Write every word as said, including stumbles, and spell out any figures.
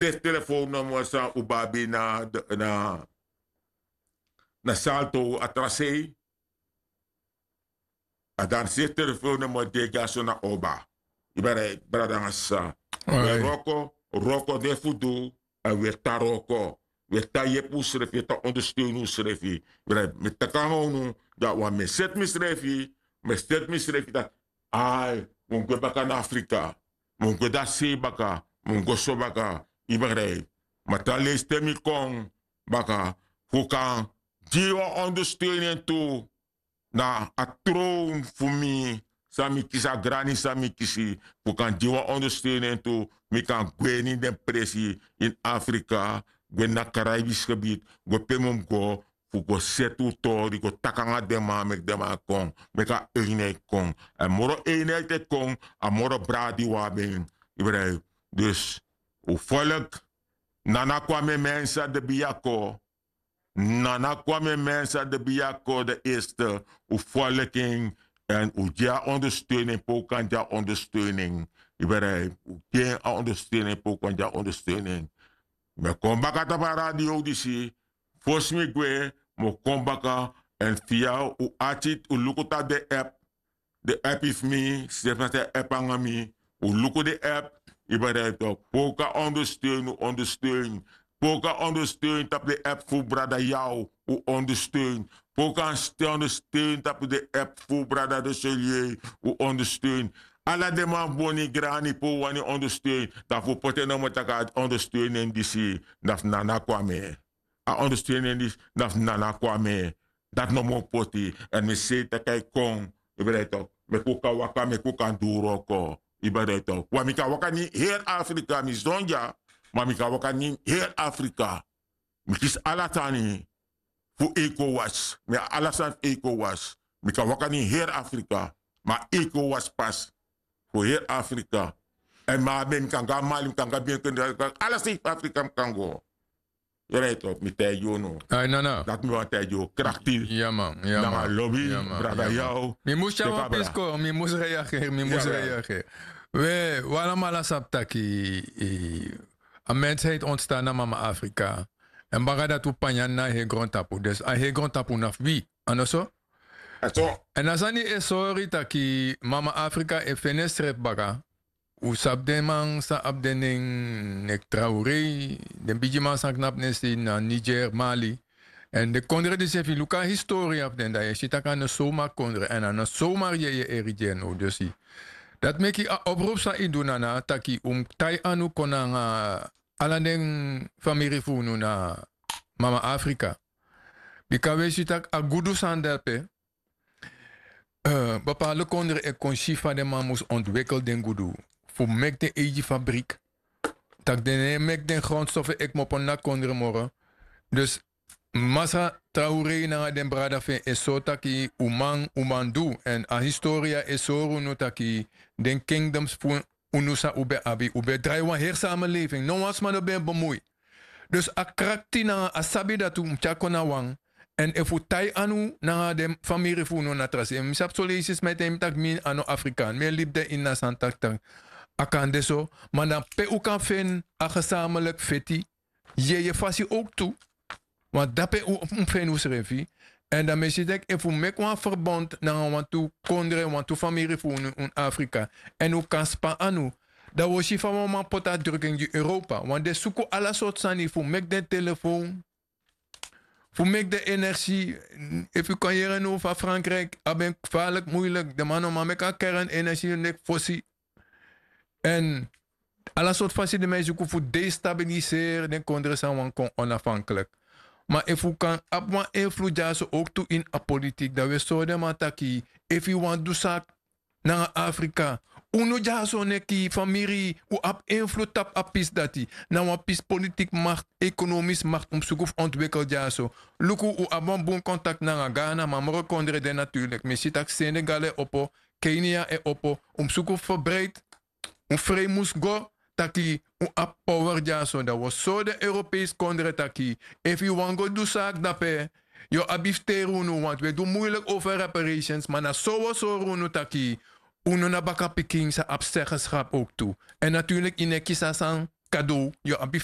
Te telefoon no moro san un babi na na salto a tra sei. A dan se telefoon no moro degi a so na oba. Yu ben rei brada nanga sisa. We roko roko de fu du. Èn we tan roko we tan yepi unsrefi we tan ondersteun unsrefi. Mi taki nanga unu, dan wan mi e seti misrefi. Mi e seti misrefi taki ai, mi mus gwe baka na afrika. Mi mus gwe dati sei baka. Mi mus go so baka. Yu begrijp? Ma tra leisi te mi kon baka fu kan gi wan ondersteuning tu na a trown fu mi. San mi kisi a grani san mi kisi fu kan gi wan ondersteuning tu. Mi kan gwe ini den presi ini afrika, gwe ini a karaibisch gebied, gwe pe mi mus go fu go seti un tori go taki nanga den man meki den man kon, meki a einheit kon. Èn moro einheit e kon a moro bradi un abi en. Yu begrijp? Dus un folk, nana kwame mensa de biyako. Nana kwame mensa de biyako de eerste. Un folk en èn un gi a ondersteuning pe un kan gi a ondersteuning. Yu begrijp? Un gi en a ondersteuning pe un kan gi a ondersteuning. Mi e kon baka tapu a radio disi. Fosi mi gwe mi o kon baka. Èn fia un ati un luku tapu den app. Den app yu fu mi srefi na san e app nanga mi. Un luku den app. Yu begrijp tok pe un kan ondersteun un ondersteun. Pe un kan ondersteun tapu den app fu brada yaw. Un ondersteun pe un kan ondersteun tapu den app fu brada de solie. Un ondersteun ala den man fu boni grani pe un wani ondersteun. Dan fu un poti en nomo taki a ondersteun en disi na fu nana kwame. A ondersteun en disi na fu nana kwame. Dati no mu o poti. Èn mi sei taki a e kon. Yu ben dai tok meki un kan waka meki un kan du wroko. Yu ben dai tok wan mi kan waka na ini heri afrika mi sidon dya. Ma mi kan waka na ini heri afrika. Mi kisi ala sani fu eiko wasi mi abi ala sani fu eiko wasi. Mi kan waka na ini heri afrika. Ma eiko wasi pasi fu heri afrika. Èn mi abi en mi kan go na mali mi kan go na bienken ala sei fu afrika mi kan go. Yu rai tok mi taigi unu. Ai nana. Dati mi wani taigi unu krakti. Nanga lobi brada yaw. Mi mus tyari wan pisko mi mus reageri mi mus reageri. We wi alamala sabi taki a mensheid ontstan na mama afrika. Èn baka dati un panya na a heri grontapu dus a heri grontapu na fu wi. A no so? Èn a sani e sori taki mama afrika e feni ensrefi baka. Un sabi den man san abi den nen neki traurei den bigiman san knapu nen sei na niger mali. Èn den kondre disi efu yu luku a historia fu den dan yu e si tak' a no sowmar kondre èn a no sowmar yeye e rigi en now dus yu dati meki a opropu san yu du na na taki un mus tai anu kon nanga ala den famiri fu unu na mama afrika. Bika un e si tak' a gudu sani de ape. Bepaalde kondre e kon si fa den man mus ontwikkel den gudu fu meki den eigi fabrik. Tak' den no e meki den grondstof e kmopo na kondre moro. Dus masra traurei nanga den brada fu en e sori taki un man un man du èn a historia e sori unu taki den kingdoms fu unu san un ben abi un ben drai wan heri samelefing no wan sma no ben bemui. Dus a krakti nanga a sabi dati un mus tyari kon na wan. Èn efu un tai anu nanga den famiri fu unu na tra sei mi sabi soleisi sma e taigi mi tak' mi a no afrikaan mi e libi de ini a sani taktak. A kan de so ma na pe un kan feni a gesameliki feti. Yeye fasi owktu. Want dape un mus feni unsrefi. Èn dan mi e si tak' efu un meki wan ferbond nanga wantu kondre wantu famiri fu unu ini afrika èn un kan span anu, dan un o si fa wan man poti a druking gi europa want den suku ala sortu sani fu meki den telefown, fu meki den energi. Efu yu kon yere now fa frankrijk abi en farlik muilik den man no man meki a kerennengi fu neki fosi. Èn ala sortu fasi den man e suku fu destabiliseri den kondre san wani kon onafhanklik. Ma efu un kan abi wan enflu dyaso owktu ini a politik dan un e sori den man taki efu yu wani du saki nanga afrika, unu dyaso neki famiri un abi enflu tapu a pisi dati. Na wan pisi politik makti ekonomis makti un mus suku fu ontwikkel dyaso. Luku un abi wan bun kontakti nanga ghana ma moro kondre de naturlik mi e si tak' senegal e opo, kenia e opo. Un mus suku fu ferbreiti. Un frei mus go taki un abi power dyaso dan un o sori den europeisi kondre taki efu yu wani go du saki dape yu o abi fu teri unu wantu un e du muilik over reparations ma na so un o sori unu taki unu na bakapikin san abi seggenskap owktu. Èn naturlik yu no e kisi a san kadow yu abi.